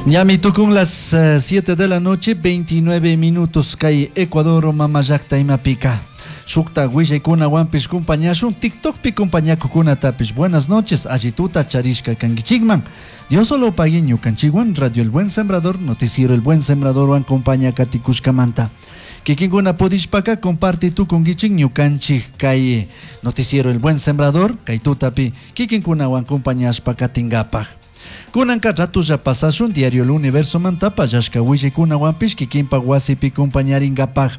Ñami tukun las 7 de la noche, 29 minutos kay Ecuador mamallakta imapika. Shukta willaykunawanpish kumpañashun TikTokpi kumpañakukunatapish buenas noches allituta charishka kankichikman. Diosolo pagui ñukanchikwan Radio El Buen Sembrador, Noticiero El Buen Sembradorwan kumpaña katikushkamanta. Kikinkuna pudishpaka comparti tukunkichik ñukanchik kay Noticiero El Buen Sembrador kay tutapi kikinkunawan kumpañashpa katingapaj. Kunanka ratulla pasashun Diario El Universo manta pallashka willaykunawanpish kikinpak wasipi kumpañaringapaj.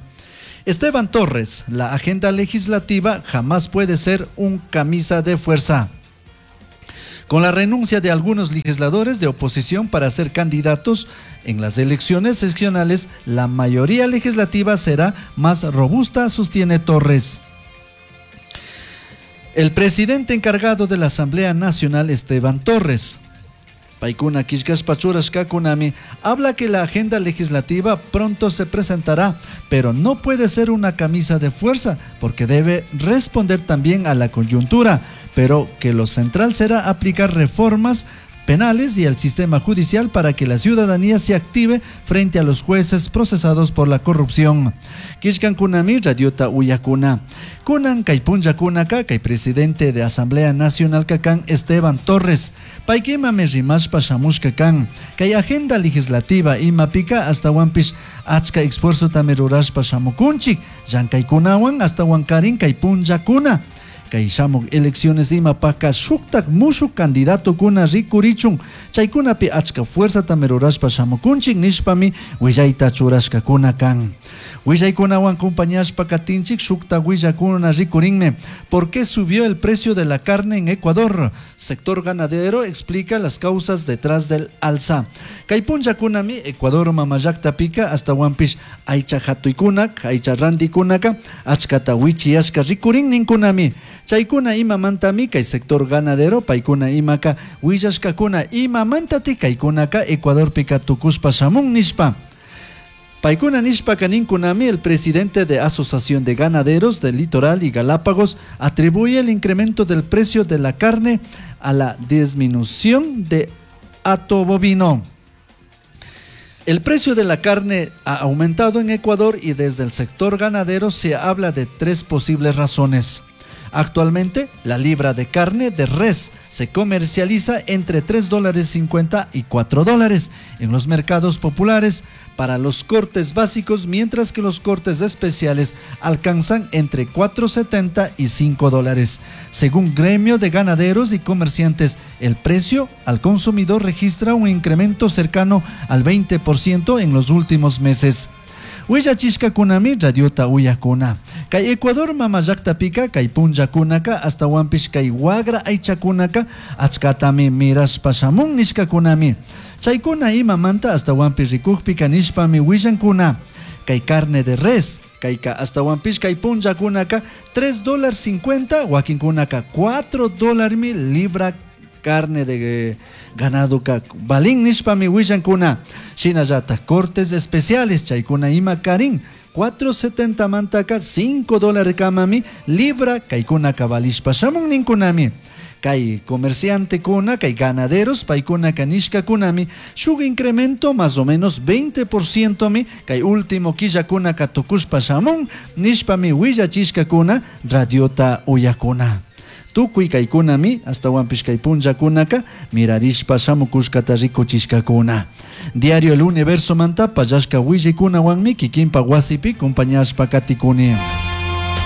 Esteban Torres, la agenda legislativa jamás puede ser un camisa de fuerza. Con la renuncia de algunos legisladores de oposición para ser candidatos en las elecciones seccionales, la mayoría legislativa será más robusta, sostiene Torres. El presidente encargado de la Asamblea Nacional, Esteban Torres, paykuna killkashpa churashkakunami, habla que la agenda legislativa pronto se presentará, pero no puede ser una camisa de fuerza porque debe responder también a la coyuntura, pero que lo central será aplicar reformas penales y el sistema judicial para que la ciudadanía se active frente a los jueces procesados por la corrupción. Killkankunami radiota uyakuna. Kunan kay punllakunaka kay presidente de Asamblea Nacional kakan Esteban Torres. Paykimami rimashpa shamushka kan. Kay agenda legislativa imapika ashtawanpish achka esfuerzotami rurashpa shamukunchik. Llankaykunawan ashtawankarin kay punllakuna. Kay shamuk elecciones imapaka shuktak mushuk candidatokuna rikurichun chaykunapi achka fuerzatami rurashpa shamukunchik nishpami willayta churashkakuna kan. Willaykunawan kumpañashpa katinchik shukta willakuna rikurinmi. ¿Por qué subió el precio de la carne en Ecuador? Sector ganadero explica las causas detrás del alza. Kay punllakunami Ecuador mamallaktapika ashtawanpish aycha hatuykunak, aycha rantikunaka achkata wichiyashka rikurin ninkunami. Chaykuna imamantami kay sector ganadero paykuna imaka willashkakuna imamantati kaykunaka Ecuadorpika tukushpa shamun nishpa. Paykuna nishpaka ninkunami, el presidente de Asociación de Ganaderos del Litoral y Galápagos atribuye el incremento del precio de la carne a la disminución de hato bovino. El precio de la carne ha aumentado en Ecuador y desde el sector ganadero se habla de tres posibles razones. Actualmente, la libra de carne de res se comercializa entre tres dólares cincuenta y cuatro dólares en los mercados populares para los cortes básicos, mientras que los cortes especiales alcanzan entre 4.70 y cinco dólares. Según gremio de ganaderos y comerciantes, el precio al consumidor registra un incremento cercano al 20% en los últimos meses. Willachishkakunami radiota uyakuna. Kay Ecuador mamallaktapika kay punllakunaka ashtawanpish kay wagra aychakunaka achkatami mirashpa shamun nishkakunami. Chaykuna imamanta ashtawanpish rikukpika nishpami willankuna. Kay carne de res, kayka ashtawanpish kay punllakunaka tres dólar cincuenta, wakinkunaka cuatro dólarmi libra carne de ganado ka balin nishpami willankuna. Shinallata cortes especiales chaykuna ima karin 4.70 mantaka cinco dólares kamami libra kaykuna kabalishpa shamun ninkunami. Kay comerciante kuna, kay ganaderos, paykuna kanishka kunami, shuk incremento más o menos 20% mi, kay último killa kuna katukushpa shamun, nishpami willachishka kuna, radiota uyakuna. Tukuy kaykunami, ashtawanpish kay punllakunaka, mirarishpa shamukushkata rikuchishkakuna. Diario El Universo manta pallashka willaykunawanmi kikinpa wasipi kumpañashpa katikuni.